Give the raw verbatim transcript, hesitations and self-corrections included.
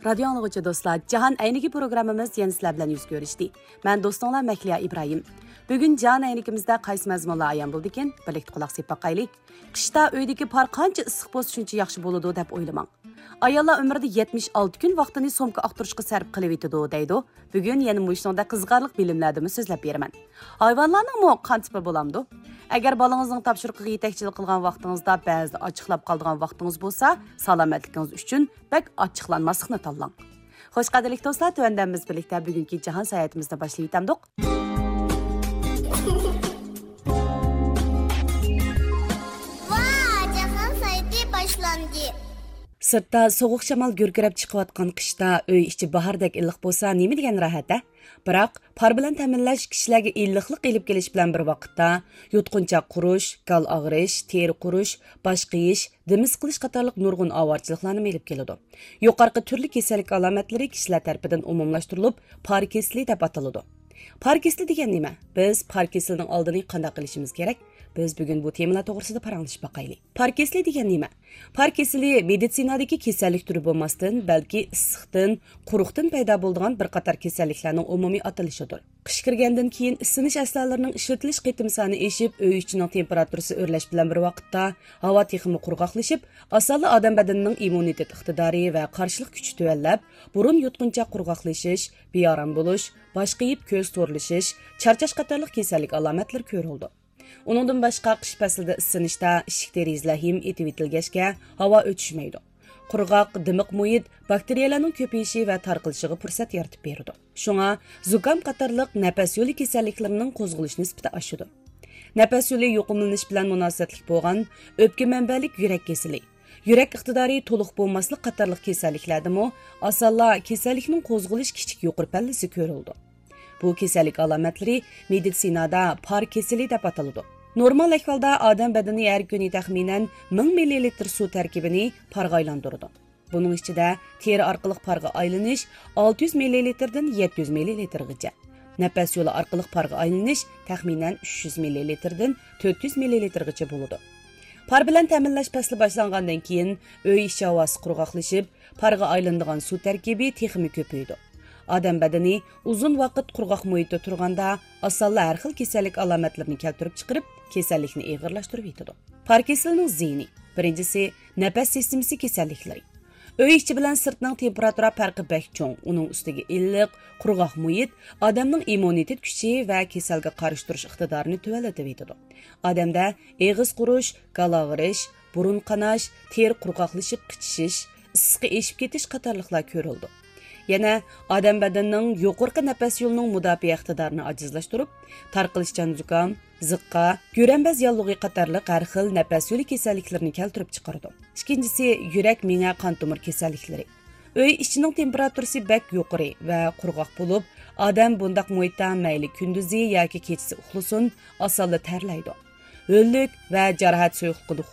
رادىيو ئاڭلىغۇچى دوستلار، جاھان ئەينىكى پروگراممىمىز يەنە سىلەر بىلەن يۈز كۆرۈشتى. مەن دوستۇڭلار مەھلىيا ئىبراھىم. بۈگۈن جاھان ئەينىكىمىزدە قايسى مەزمۇنلار ئايان بولىدىكىن، بىرلىكتە قۇلاق سېلىپ باقايلى. قىشتا ئۆيدىكى پار قانچە ئىسسىق بولسا، شۇنچە ياخشى بولىدۇ دەپ ئويلىماڭ. ئاياللار ئۆمرىدە يەتمىش ئالتە كۈن ۋاقتىنى سومكا ئاختۇرۇشقا سەرپ قىلىۋېتىدۇ، دەيدۇ. بۈگۈن يەنە مۇشۇنىڭدەك قىزىقارلىق بىلىملەردىنمۇ سۆزلەپ بېرىمەن. ھايۋانلارنىڭمۇ قان تىپى بولامدۇ؟ ئەگەر بالىڭىزنىڭ تاپشۇرۇقىغا يېتەكچىلىك قىلغان ۋاقتىڭىزدا بەزىدە ئاچچىقلاپ قالىدىغان ۋاقتىڭىز بولسا، سالامەتلىكىڭىز ئۈچۈن بەك ئاچچىقلانماسلىقنى تاللاڭ. خوش، قەدىرلىك دوستلار، تۆۋەندە بىز بىرلىكتە بۈگۈنكى جاھان ساياھىتىمىزنى باشلىۋېتەمدۇق. ۋا، جاھان ساياھىتى باشلاندى. سىرتتا سوغۇق شامال گۈركىرەپ چىقىۋاتقان قىشتا ئۆي ئىچى باھاردەك ئىللىق بولسا، نېمە دېگەن راھەت-ھە؟ بىراق، پار بىلەن تەمىنلەش كىشىلەرگە ئىللىقلىق ئېلىپ كېلىش بىلەن بىر ۋاقىتتا، يۇتقۇنچاق قۇرۇش، گال ئاغرىش، تېرە قۇرۇش، باش قېيىش، دېمى سىقىلىش قاتارلىق نۇرغۇن ئاۋارىچىلىقلارنىمۇ ئېلىپ كېلىدۇ. يۇقىرىقى تۈرلۈك كېسەللىك ئالامەتلىرى كىشىلەر تەرىپىدىن ئومۇملاشتۇرۇلۇپ، پار كېسىلى دەپ ئاتىلىدۇ. پار كېسىلى دېگەن نېمە؟ بىز پار كېسىلىنىڭ ئالدىنى قانداق ئېلىشىمىز كېرەك؟ بىز بۈگۈن بۇ تېمىلار توغرىسىدا پاراڭلىشىپ باقايلى. پار كېسىلى دېگەن نېمە؟ پار كېسىلى مېدىتسىنادىكى كېسەللىك تۈرى بولماستىن، بەلكى ئىسسىقتىن، قۇرۇقتىن پەيدا بولىدىغان بىر قاتار كېسەللىكلەرنىڭ ئومۇمىي ئاتىلىشىدۇر. قىش كىرگەندىن كېيىن ئىسسىنىش ئەسلىھەلىرىنىڭ ئىشلىتىلىش قېتىم سانى ئېشىپ، ئۆي ئىچىنىڭ تېمپېراتۇرىسى ئۆرلەش بىلەن بىر ۋاقىتتا، ھاۋا تېخىمۇ قۇرغاقلىشىپ، ئاسانلا ئادەم بەدىنىنىڭ ئىممۇنىتېت ئىقتىدارى ۋە قارشىلىق كۈچى تۆۋەنلەپ، بۇرۇن يۇتقۇنچاق قۇرغاقلىشىش، بىئارام بولۇش، باش قېيىپ كۆز تورلىشىش، چارچاش قاتارلىق كېسەللىك ئالامەتلىرى كۆرۈلىدۇ. ئۇنىڭدىن باشقا، قىش پەسلىدە ئىسسىنىشتا ئىشىك دېرىزىلەر ھىم ئېتىۋېتىلگەچكە، ھاۋا ئۆتۈشمەيدۇ. قۇرغاق، دىمىق مۇھىت باكتېرىيەلەرنىڭ كۆپىيىشى ۋە تارقىلىشىغا پۇرسەت يارىتىپ بېرىدۇ. شۇڭا، زۇكام قاتارلىق نەپەس يولى كېسەللىكلىرىنىڭ قوزغىلىش نىسبىتى ئاشىدۇ. نەپەس يولى يۇقۇملىنىش بىلەن مۇناسىۋەتلىك بولغان ئۆپكە مەنبەلىك يۈرەك كېسىلى، يۈرەك ئىقتىدارى تولۇق بولماسلىق قاتارلىق كېسەللىكلەردىمۇ ئاسانلا كېسەللىكنىڭ قوزغىلىش كىچىك يۇقىرى پەللىسى كۆرۈلىدۇ. بۇ كېسەللىك ئالامەتلىرى مېدىتسىنادا پار كېسىلى دەپ ئاتىلىدۇ. نورمال ئەھۋالدا ئادەم بەدىنى ھەر كۈنى تەخمىنەن مىڭ مىللىلىتىر سۇ تەركىبىنى پارغا ئايلاندۇرىدۇ. بۇنىڭ ئىچىدە تېرە ئارقىلىق پارغا ئايلىنىش ئالتە يۈز مىللىلىتىردىن يەتتە يۈز مىللىلىتىرغىچە، نەپەس يولى ئارقىلىق پارغا ئايلىنىش تەخمىنەن ئۈچ يۈز مىللىلىتىردىن تۆت يۈز مىللىلىتىرغىچە بولىدۇ. پار بىلەن تەمىنلەش پەسلى باشلانغاندىن كېيىن، ئۆي ئىچى ھاۋاسى قۇرغاقلىشىپ، پارغا ئايلىنىدىغان سۇ تەركىبى تېخىمۇ كۆپىيىدۇ. ئادەم بەدىنى ئۇزۇن ۋاقىت قۇرغاق مۇھىتتا تۇرغاندا، ئاسانلا ھەر خىل كېسەللىك ئالامەتلىرىنى كەلتۈرۈپ چىقىرىپ، كېسەللىكنى ئېغىرلاشتۇرۇۋېتىدۇ. پار كېسىلىنىڭ زىيىنى. بىرىنچىسى، نەپەس سىستېمىسى كېسەللىكلىرى. ئۆي ئىچى بىلەن سىرتنىڭ تېمپېراتۇرا پەرقى بەك چوڭ، ئۇنىڭ ئۈستىگە ئىللىق، قۇرغاق مۇھىت ئادەمنىڭ ئىممۇنىتېت كۈچى ۋە كېسەلگە قارشى تۇرۇش ئىقتىدارىنى تۆۋەنلىتىۋېتىدۇ. ئادەمدە ئېغىز قۇرۇش، گالا ئاغرىش، بۇرۇن قاناش، تېرە قۇرغاقلىشىپ قىچىشىش، ئىسسىقى ئېشىپ كېتىش قاتارلىقلار كۆرۈلىدۇ. يەنە ئادەم بەدىنىنىڭ يۇقىرىقى نەپەس يولىنىڭ مۇداپىئە ئىقتىدارىنى ئاجىزلاشتۇرۇپ، تارقىلىشچان زۇكام، زىققا، گۆرەمبەز ياللۇغى قاتارلىق ھەر خىل نەپەس يولى كېسەللىكلىرىنى كەلتۈرۈپ چىقىرىدۇ. ئىككىنچىسى، يۈرەك، مېڭە، قان تومۇر كېسەللىكلىرى. ئۆي ئىچىنىڭ تېمپېراتۇرىسى بەك يۇقىرى ۋە قۇرغاق بولۇپ، ئادەم بۇنداق مۇھىتتا مەيلى كۈندۈزى ياكى كېچىسى ئۇخلىسۇن، ئاسانلا تەرلەيدۇ. ھۆللۈك ۋە جاراھەت سۇيۇقلۇقىدا